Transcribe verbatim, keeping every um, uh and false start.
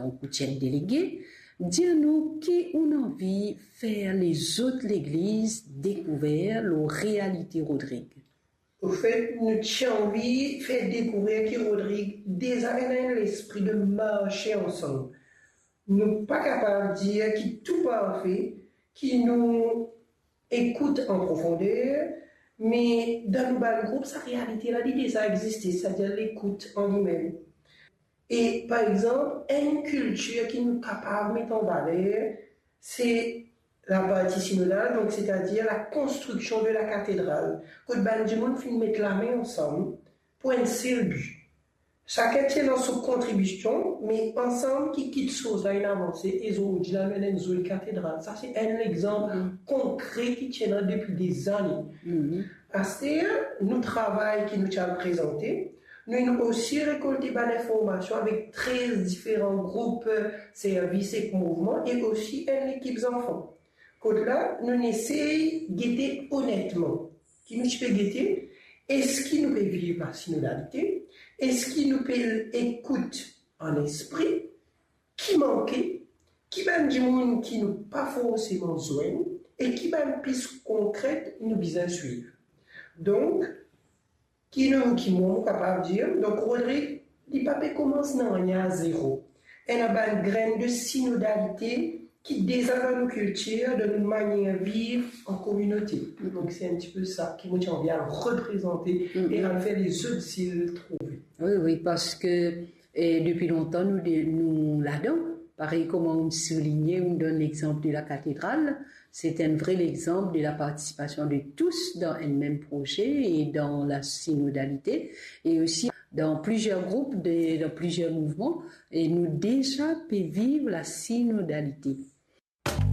Donk, ou ti enn delege, dir nou ki ou'nn anvi fer lezot legliz dekouver lor realite Rodrig. Anfet, nou ti anvi fer dekouver ki Rodrig deza ena enn lespri de marse ansam. Nou pa kapav dir ki tou parfe, ki nou ekout an profonder, me dan nou bann group, sa realite la, li deza existe, setadir lekout an limem. E, par exanp, enn kiltir ki nou kapav met an valer, se laparti sinodal, donk, setadir lakonstriksion de lakatedral, kot bann dimoun finn met lame ansam pou enn sel bi. Sakenn ti ena so kontribision, me ansam ki kit soz la inn avanse, e zordi la nou ena enn zoli katedral. Sa se enn lexanp konkre ki ti ena depi dezane. Aster, nou travay ki nou ti al prezante, nou inn osi rekolte bann informasion avek trez diferan group, servis ek mouvman, e osi enn lekip zanfan. Kot la, nou inn esey gete onetman. Ki nou ti pe gete, eski nou pe viv lasinodalite? Eski nou pe ekout an lespri? Ki manke? Ki bann dimoun ki nou pa forseman zwenn? E ki bann pis konkret nou bizin swiv? Donk, ki nou, ki mwa mo kapav dir, donk, Rodrig, li pa pe koumans nanye a zero. Ena bann grenn de sinodalite ki deza dan nou kiltir, dan nou manier viv an kominote. Donk, se enn tipe sa ki mo ti anvi al reprezante e al fer lezot zil trouve. Wi, wi, parski, e, depi lontan, nou de-, nou ladan. Parey kouma ou souligne, ou donn lexanp de lakatedral, se enn vre lexanp de lapartisipasion de tous dan enn mem proze e dan lasinodalite, e osi dan plizier group, de, dan plizier mouvman, e nou deza pe viv lasinodalite.